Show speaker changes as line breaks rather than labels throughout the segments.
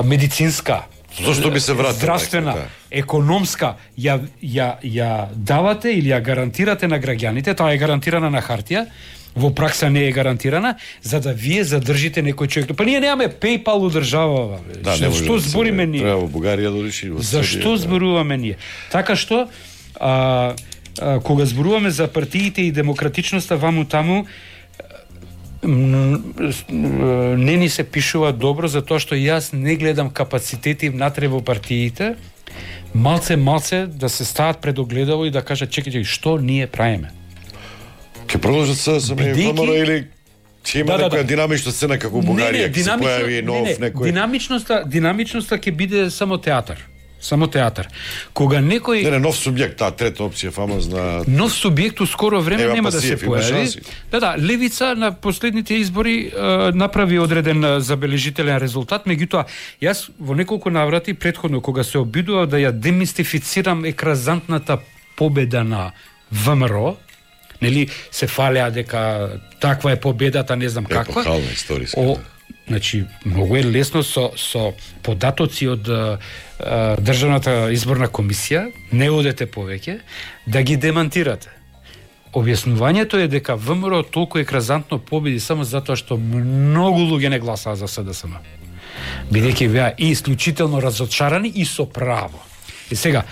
медицинска,
зошто би се вратил,
здравствена, економска, ја давате или ја гарантирате на граѓаните, тоа е гарантирана на хартија, во пракса не е гарантирана, за да вие задржите некој човек. Па ние немаме PayPal у држава.
Да,
што збориме ние?
Треба во Бугарија да реши.
Зашто зборуваме ние? Така што кога зборуваме за партиите и демократичноста ваму таму, не ни се пишува добро, затоа што јас не гледам капацитети внатре во партиите, малце да се стават пред огледало и да кажат чекајте, што ние правиме?
Ке продолжат се само ВМРО или ќе има некоја динамична сцена како Бугарија, ќе се појави нов некој.
Динамичноста ќе биде само театар. Само театар. Кога некој
нов субјект, таа трета опција фамозна.
Нов субјект у скоро време нема да се појави. Левица на последните избори направи одреден забележителен резултат, меѓутоа јас во неколку наврати претходно кога се обидував да ја демистифицирам екразантната победа на ВМРО, нели се фалеа дека таква е победата, не знам каква.
Епохална историска.
Значи, многу е лесно со податоци од Државната изборна комисија, не одете повеќе, да ги демантирате. Објаснувањето е дека ВМРО толку екразантно победи само затоа што многу луѓе не гласаа за СДСМ. Бидејќи беа и исклучително разочарани и со право. И сега,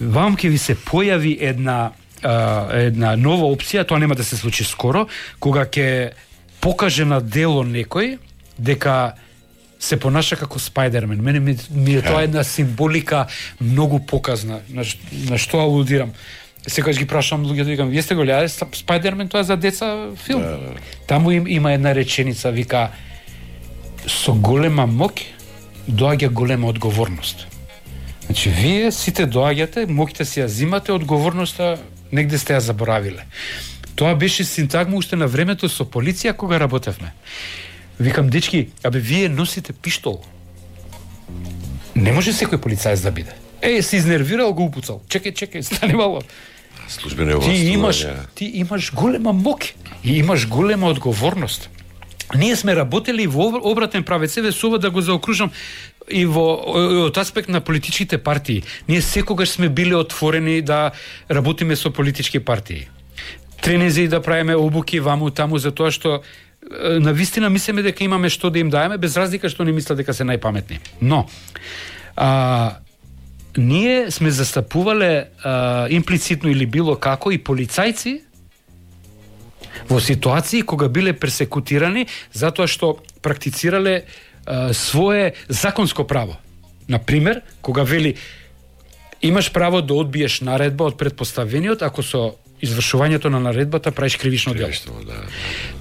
вам ќе ви се појави една нова опција, тоа нема да се случи скоро, кога ќе покаже на дело некој дека се понаша како Спајдермен. Мене ми е тоа една символика многу показна. На што алудирам? Секогаш ги прашам луѓето, викам, вие сте го гледале Спајдермен, тоа е за деца филм. Таму има една реченица, вика, со голема моќ доаѓа голема одговорност. Значи, вие сите доаѓате, моќте си ја зимате, одговорноста негде сте ја заборавиле. Тоа беше синтагма уште на времето со полиција кога работевме. Викам, дечки, вие носите пиштол. Не може секој полицаец да биде. Се изнервирал, го упуцал. Чекај, стани мало.
Службена власт.
Ти имаш голема моќ и имаш голема одговорност. Ние сме работели во обратен правец, со да го заокружам и од аспект на политичките партии. Ние секогаш сме биле отворени да работиме со политички партии. Тренинзи да правиме обуки ваму таму, затоа што на вистина мислиме дека имаме што да им даеме, без разлика што не мислат дека се најпаметни. Но ние сме застапувале имплицитно или било како и полицајци во ситуации кога биле персекутирани затоа што практицирале свое законско право. Например, кога вели имаш право да одбиеш наредба од претпоставениот ако со извршувањето на наредбата правиш кривично дело.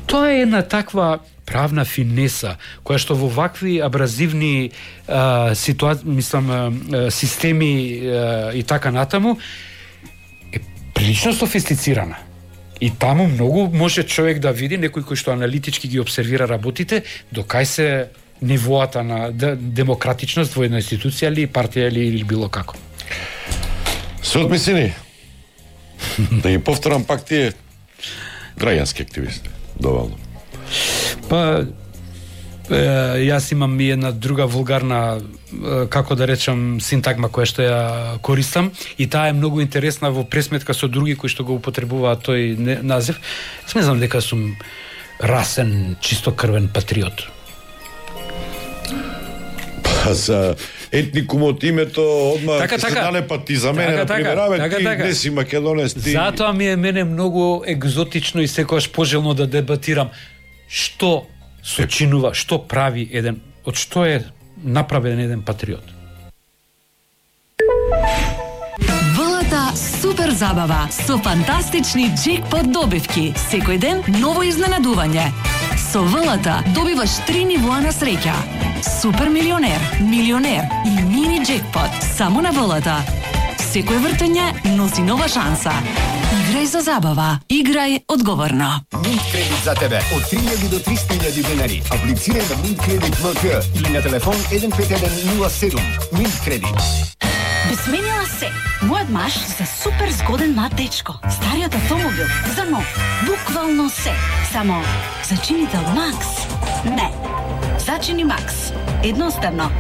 Тоа е една таква правна финеса која што во вакви абразивни системи и така натаму е прилично софистицирана. И таму многу може човек да види, некој кој што аналитички ги обсервира работите, докај се нивоата на демократичност во една институција или партија или било како.
Се одмислени. Да ги повторам пак тие граѓански активисти. Доволно.
Па јас имам и една друга вулгарна, како да речам, синтагма која што ја користам и таа е многу интересна во пресметка со други кои што го употребуваат тој назив. Смезнам дека сум расен, чистокрвен патриот.
Па за етникумот името одма
така,
се налепат и за мене, например, ти не си македонец, ти...
Затоа ми е мене многу екзотично и секогаш пожелно да дебатирам што сочинува, што прави еден, од што е направен еден патриот.
ВЛТ супер забава со фантастични джекпот добивки. Секој ден ново изненадување. Со ВЛТ добиваш 3 нивоа на среќа. Супер милионер, милионер и мини джекпот само на ВЛТ. Секој вртење носи нова шанса. Играј за забава. Играј одговорно.
Mint кредит за тебе од 3000 до 300.000 денари. Аплицирај на Mint кредит ВК или на телефон 15107. Mint кредит.
Би сменила се. Мојот маж за супер згоден млад дечко. Стариот автомобил за нов. Буквално се. Само зачинител Макс. Не. Зачини Макс. Едноставно.